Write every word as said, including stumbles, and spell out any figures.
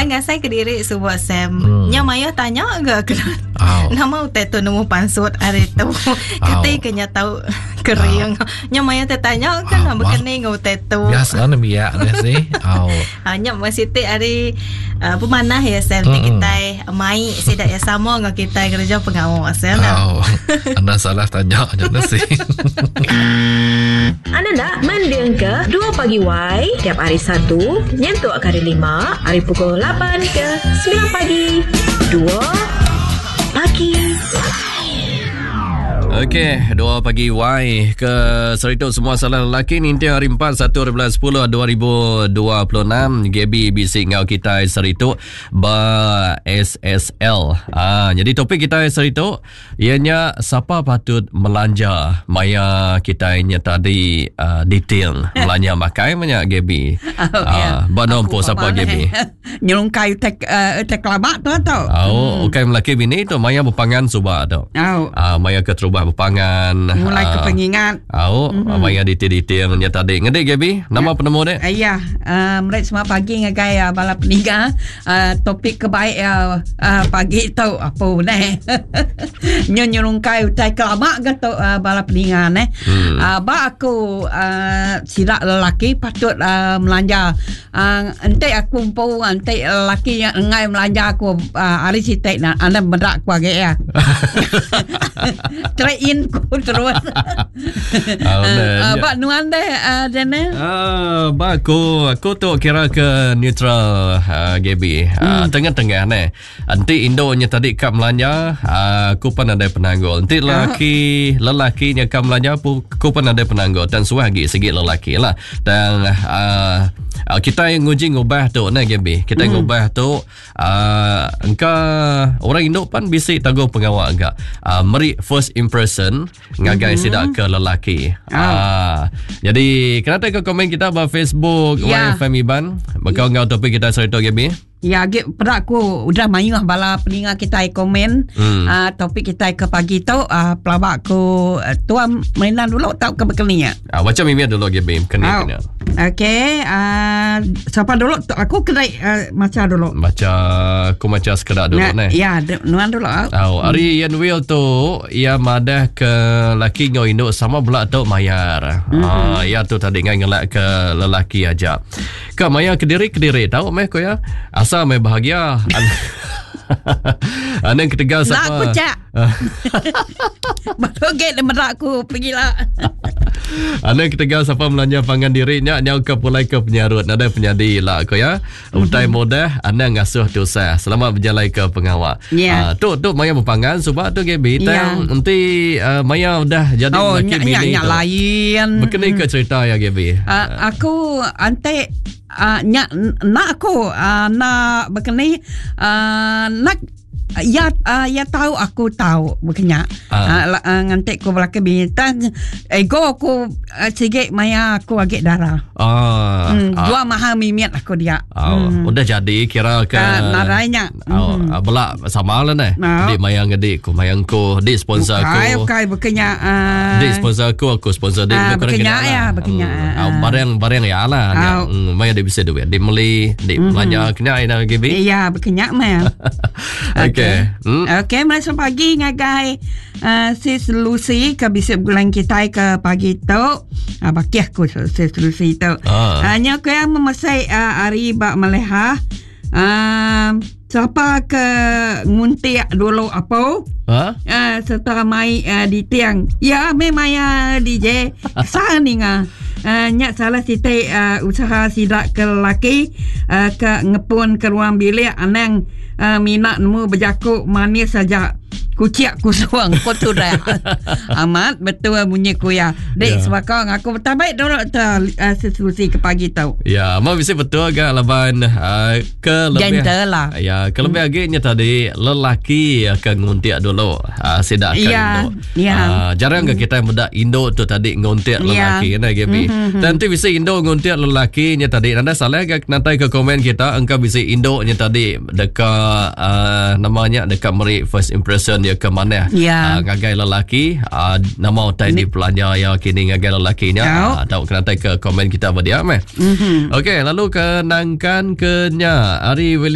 Tang ngasai ke diri suba Sam. Hmm. Nya mayuh tanya ga kena. Nama utai tu nemu pansut ari tu. Kati ke nya tau kering. Nya mayuh te tanya kan nak bekeni ngau utai tu. Biasa nembiak nya sih. Au. Ha, nya masih ti ari uh, pemanah ya Sam mm-hmm. kita mai sida ya sama ngau kita kerja pengawa Sam. Au. Anda salah tanya nya sih. Anda nak mending ke dua pagi Y tiap hari Satu nyentuk ke hari Lima hari pukul lapan ke sembilan pagi. Dua pagi. Okey, dua pagi Y ke seritu semua salah lelaki ninti hari empat satu bulan sepuluh dua ribu dua puluh enam G B bisi ngau kita seritu ba S S L. Ah, jadi topik kita seritu ianya siapa patut melanja maya kita nya tadi uh, detail melanja makai banyak G B. Oh, ah, ba nompo siapa G B? Nyelungkai tek uh, tek kelabak tu tu. Oh, hmm. Okey melaki bini tu maya berpangan suba tu. Oh. Ah, maya keterubah berpangan mulai ke pengingat. Oh, mm-hmm. Maya detail-detail nya tadi. Ngedik G B, nama ya. Penemu dek? Ya, uh, mereka semua pagi ngagai uh, bala peniga uh, topik kebaik uh, uh, pagi tu apa neh. Nyelungkai utai kelabak ke tu uh, bala peninga neh. Hmm. Uh, ba aku uh, sidak lelaki patut uh, melanja. Uh, ente aku empu ente lelaki yang ngai melanja aku uh, hari sitek nak anda medak aku age ya. Train ku terus. Uh, ba nuan deh uh, Daniel. Ah, ba aku aku tu kira ke neutral uh, G B. Uh, hmm. Tengah-tengah neh. Enti indonya tadi kap melanja, uh, aku pun ada penanggul. Enti lelaki lelaki nya kap melanja aku pun ada penanggul. Dan suah lagi segi lelaki lah. Dan uh, kita yang nguji ngubah tu neh G B. Kita hmm. ngubah tu uh, engka orang induk pun bisi tanggung pengawal agak. Uh, meri first impression ngagai mm-hmm. sidak ke lelaki. Oh. Ah, jadi kena ke komen kita ba Facebook ya. Y F M Iban. Bakal ngau topik kita cerita G B. Ya, ge pedak aku udah mayuh bala peninga kita komen hmm. uh, topik kita ke pagi tu uh, pelabak aku uh, tuan mainan dulu tau ke bekeni ya. Ah, baca mimpi dulu G B kena oh. kena. Okey, uh, siapa dulu? Aku kena uh, baca dulu. Baca aku baca sekedar dulu nah, neh. Ya, nuan dulu. Oh, hari Ian Will tu ia madah ke laki ngau induk sama belak tu mayar. Mm-hmm. Ah, ia tu tadi ngai ngelak ke lelaki aja. Ke mayar kediri-kediri tahu meh ko ya. Asal meh bahagia. Anang ketegal Nak siapa? aku cak. Baru gate merak aku pergilah. Anang ketegal siapa melanja pangan diri nya nyau ke pulai ke penyarut. Nadai penyadi lah ko ya. Utai mudah anang ngasuh tusah. Selamat berjalan ke pengawal. Yeah. Uh, tu tu maya berpangan sebab tu G B Yeah. tang nanti uh, maya dah jadi Oh, lelaki nyak bini nyak nyak tu. lain. Berkena ke cerita ya G B? Uh, aku ante uh, nyak nak aku uh, nak berkena uh, nak ya uh, ya tahu aku tahu berkena Ah. uh, uh, ngantik ku belaka bintang ego aku uh, sikit maya aku agak darah. Ah, Hmm, ah. dua mahal mimiat aku dia. Oh, hmm. Udah jadi kira ke Ah, narainya. Oh, hmm. Belak sama lah neh. Ah. Dik mayang dik ku mayang ku, dik sponsor Bukai, aku. bukai berkena uh, Dik sponsor aku, aku sponsor dik. Ah, Lebih kurang berkena kena ya, lah. berkena. Hmm. Ah, barang barang ya lah. Ah. Hmm, maya dia bisa duit. Dik beli, dik belanja kena ina G B. Ya, berkena mah. Okey. Hmm. Okey, mari selamat pagi ngagai uh, sis Lucy ke bisik bulan kita ke pagi tu. Uh, baki aku sis Lucy tu. Ah. Hanya aku yang memasai uh, hari bak meleha. Uh, siapa ke nguntik dulu apa? Ha? Uh, serta mai uh, di tiang. Ya, memang ya D J. Sah ni ngah. Uh, nyak salah sitik uh, usaha sidak ke lelaki uh, ke ngepun ke ruang bilik anang uh, minat nemu berjakuk manis saja. Kuciak kusuang ko tu dah. Amat betul bunyi ku ya. Dek Ya. yeah. sebakang aku bertabaik dulu tu uh, solusi ke pagi tu. Ya, mau bisa betul agak laban uh, ke lebih Gentle lah. Ya, ke lebih hmm. agaknya tadi lelaki akan nguntiak dulu. Uh, sidak akan Ya, induk. ya. Uh, jarang ke kita yang induk tu tadi nguntiak Ya. lelaki kan G B. Mhm. Dan tu bisa induk nguntiak lelaki nya tadi. Nanda salah ke nantai ke komen kita engkau bisa induknya tadi dekat uh, namanya dekat meri first impression dia ke mana. Ya. Uh, ngagai lelaki uh, nama utai di belanja ya kini ngagai lelaki nya. Ya. Uh, tahu kena ke komen kita berdia meh. Mhm. Okey, lalu ke nangkan ke nya Ari William